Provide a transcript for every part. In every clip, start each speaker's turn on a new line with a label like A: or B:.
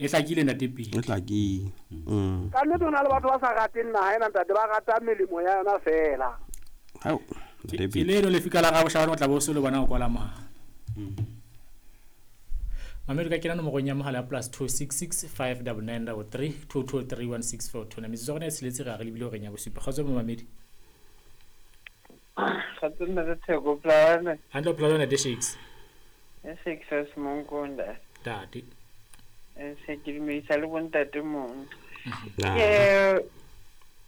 A: E hlakile ntate Pili.
B: E hlakile.
C: Ka nnete ho na le batho ba sa rateng naha ena ntate, ba rata melemo ya yona feela.
B: Hao, ntate
A: Ke
B: Pili.
A: leno lefika la Raboshabane o tla bo o se le bona o kwala mohala. Mamedi ka kena nomorong ya mohala ya +266 599 33 223 1642. Metsotso ya rona e tsheletse re a re lebile horeng ya bosupa. Kgotso momamedi.
D: Kgotso ntate Theko, o phela jwang?
A: Hantle, o phela jwang ntate Shakes?
D: E Shakes wa Semonkong,
A: Ntate.
D: E se ke dumedisa le bontate mong.
B: Ah.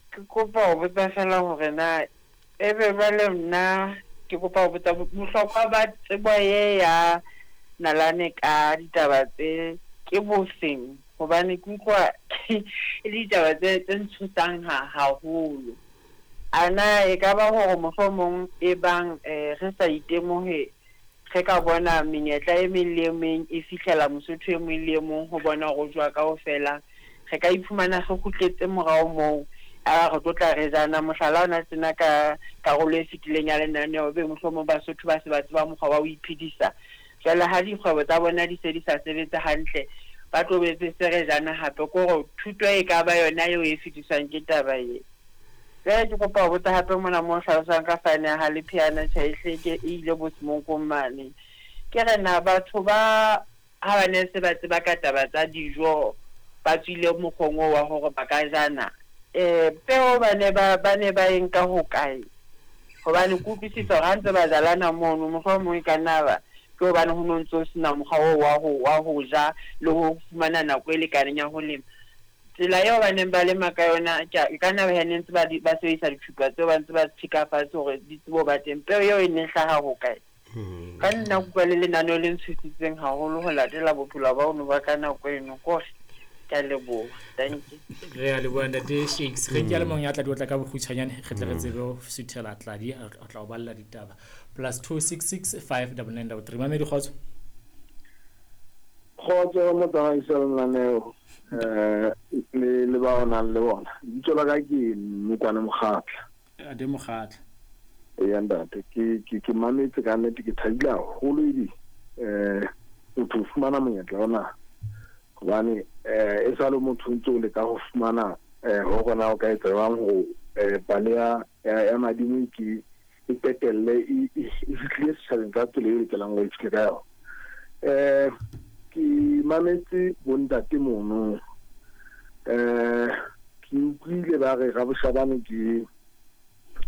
D: Ke kopa ho botsa fela hore na ebe jwale nna ke kopa ho botsa bohlokwa ba tsebo e ya nalane ka ditaba tse ke bofeng, hobane ke utlwa e le ditaba tse ntshosang haholo. A na e ka ba hore mohlomong e bang re sa itemohe re ka bona menyetla e meng le e meng e fihlela Mosotho e mong le e mong ho bona hore o jowa kaofela, re ka iphumana re kgutletse morao moo a re tlo tla re jana. Mohlala ona tjena ka karolo e fetileng ya lenaneo, ebe mohlomong Basotho ba se ba tseba mokgwa wa ho iphedisa. Jwale ha dikgwebo tsa bona di se di sa sebetse hantle, ba tlo be se re jana hape. Ke hore thuto e ka ba yona eo e fetiswang ke taba e. Jwale ke kopa ho botsa hape mona mo hlalosang ka fane ya ha Lepheana, tjhe, ehlile ke e ile bo Semonkong mane. Ke re na batho ba ha ba ne se ba tseba ka taba tsa dijo, ba tswile mokgweng oo wa hore ba ka jana. Peo ba ne ba e nka hokae? Hobane ke utlwisisa hore ha ntse ba jalana mono, mohlomong e ka nna ba ke hobane ho no ntso sena mokgwa oo wa ho ja le ho fumana nako e lekaneng ya ho lema. Tsela eo ba neng ba lema ka yona, e ka nna ba ne ntse ba sebedisa dithupa tseo ba ntse ba tjheka fatshe hore di tsebe ho ba teng. Peo eo e ne hlaha hokae? Ka nna kutlwa le lenaneo le ntshositseng haholo ho latela bophelo ba ono ba ka nako eno. Kore ke a leboha. Thank you.
A: Re a leboha ntate Shakes. Re ke le mong ya tla di otla ka bokgutshwanyane, re tle re tsebe ho suthela tladi a tla o balla ditaba. +266 599 33. Mamedi, kgotso.
E: Kgotso motsamaisi wa lenaneo le ba o nang le bona. Lebitso la ka ke Mmokwane Mokgatla.
A: Ade Mokgatla.
E: Eya ntate, ke mametse ka nnete, ke thabile haholo ebe motho o fumana monyetla ona, hobane e sa le motho o ntse o leka ho fumana hore na o ka etsa jwang ho pale ya madimo ke e qetelle e fihlile setjhabeng ka tsela e lokelang ho e fihle ka yona. Ke mametse bontate mono, ke utlwile ba re Raboshabane ke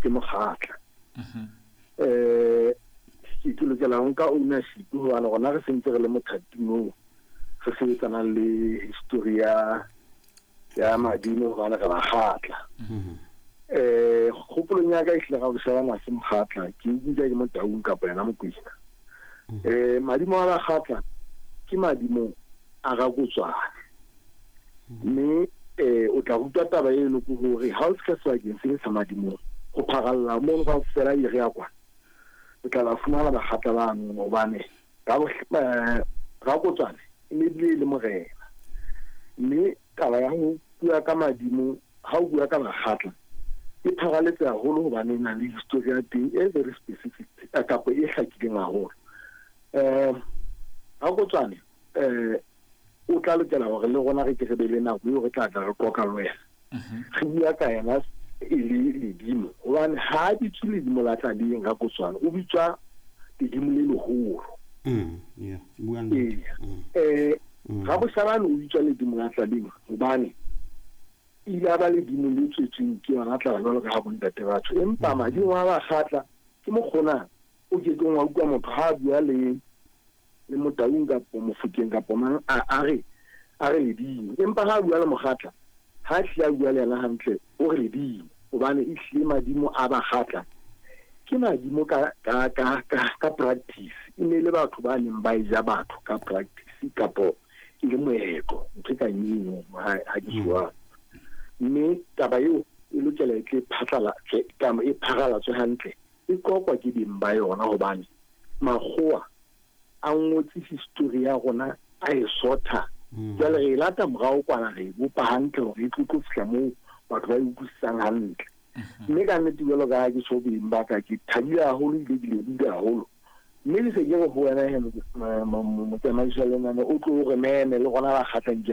E: Mokgatla. Ke lokela ho nka ownership hobane rona re sentse re le mothating oo re sebetsanang le history ya madimo, hobane re Bakgatla. Kgopolong ya ka, ehlile Raboshabane ha se Mokgatla, ke utlwa ke Motaung kapa yena Mokwena. Madimo a Bakgatla ke madimo a Rakotswana, mme o tla rutwa taba eno ke hore ha o fihla sebakeng se sa madimong ho pharalla mono kaofela ere ya kwana, o tla ba fumana Bakgatla bano, hobane Rakotswane e ne bile e le morena. Mme taba ya ho bua ka madimo, ha o bua ka Bakgatla, e pharaletse haholo hobane e na le history ya teng e very specific kapa e hlakileng haholo. Rakotswane o tla lokela hore le rona re ke re be le nako eo re tla tla re qoqa le wena, re bua ka yena e le ledimo, hobane ha a bitswe ledimo la tlaleng. Rakotswane o bitswa ledimo le leholo.
B: Yeah, bua nnete.
E: Ee, Raboshabane o bitswa ledimo la tlaleng hobane ile a ba ledimo le tswetsweng ke yona tlala, jwalo ka ha bontate batho. Empa madimo a Bakgatla ke mokgona o ke keng wa utlwa motho ha a bua le Motaung kapo Mofokeng kapo mang a re ledimo, empa ha a bua le Mokgatla, ha hlile a bua le yena hantle, o re ledimo, hobane e hlile madimo a Bakgatla ke madimo ka practice. E ne le batho ba neng ba e ja batho ka practice kapo e le moetlo, ntho e kang eno ha ke jwang. Mme taba eo e lokela e tle phatlalatswe, e pharalatse hantle, e qoqwa ke beng ba yona, hobane makgowa a ngotse history ya rona a e sotha. Jwale re e lata morao kwana, re e bopa hantle hore e tlo fihla moo batho ba e utlwisisang hantle. Mme ka nnete, jwalo ka ha ke tjho, beng ba ka, ke thabile haholo ebile ke lebohile haholo. Mme ke se ke re ho wena he, motsamaisi wa lenane, o tlo re meme le rona Bakgatlang ke re.